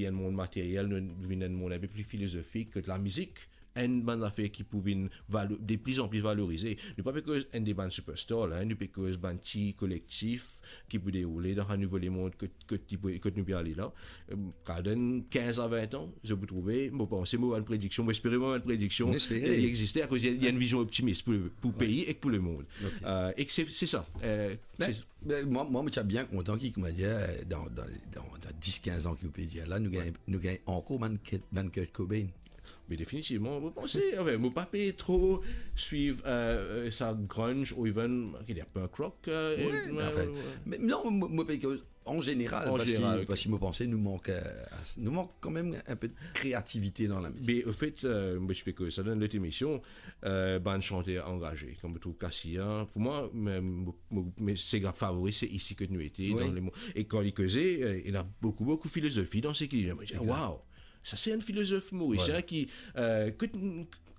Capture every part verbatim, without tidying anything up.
Enn mond materyel, nou vinn enn mond inpe pli filozofik, kot lamizik enn bann zafer ki pou vinn valo-, de pli an pli valorize. Nou pa pe koz enn de bann superstar la, nou pe koz bann ti kolektif ki pou deroule dan sa nouvo lemond kot, kot, li pou, kot nou pe ale la. Em, kar dan kinz a vin an, zot pou trouve, mo panse, mo bann prediksion, mo espere mo bann prediksion, li existe akoz li ena enn vizion optimis pou, pou pei ek pou lemond. Ok. Euh, ek se, se sa. Euh, se- Be, mwa, mwa, mo ti bien kontan ki, koumadir, dan, dan, dan, dan dis, kinz an ki ou pe dir la, nou gagn, nou gagn ankor bann Kurt, bann Kurt Cobain. Me definitivman, mo panse, anfin, mo pa pe tro swiv, euh, euh, sa grunge ou even, ki dir, punk rock, euh, Wi, anfin, me non, mo, mo pe koz an zeneral, parski, parski mo panse nou mank, euh, nou mank kanmem inpe de kreativite dan lamizik. Me anfet, euh, mo ti pe koz sa dan lot emision, euh, bann santer angaze, kouma mo trouv Cassia, pou mwa, me, mo, mo, me se group favori, se Ici Que Nous Étions, dan lemond. E kan li koze, euh, ena boukou, boukou filozofi dan seki li dir. Mo dir, waw, sa se enn filozof morisien ki, euh, kot,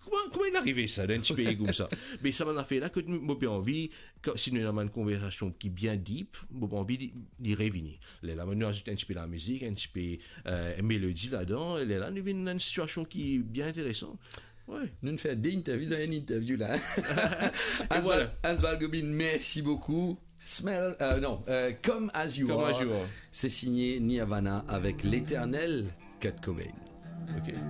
kouma, kouma li arive sa, dan enn ti pei koumsa? Me sa bann zafer la, kot mo pe anvi, si nou ena bann konversasion ki bien deep, mo pe anvi li, li revini. Lerla, nou azout enn ti pe lamizik, enn ti pe, euh, melodi ladan, lerla, nou vinn enn sitiasion ki bien interesan. Wi. Nou fer de interview dan enn interview la. Hans Val-, Hans Valgobin, mersi boukou. Smell, euh, non, euh, Come As You Are. Come As You Are. Se sign Nirvana avek leternel Kurt Cobain. Ok.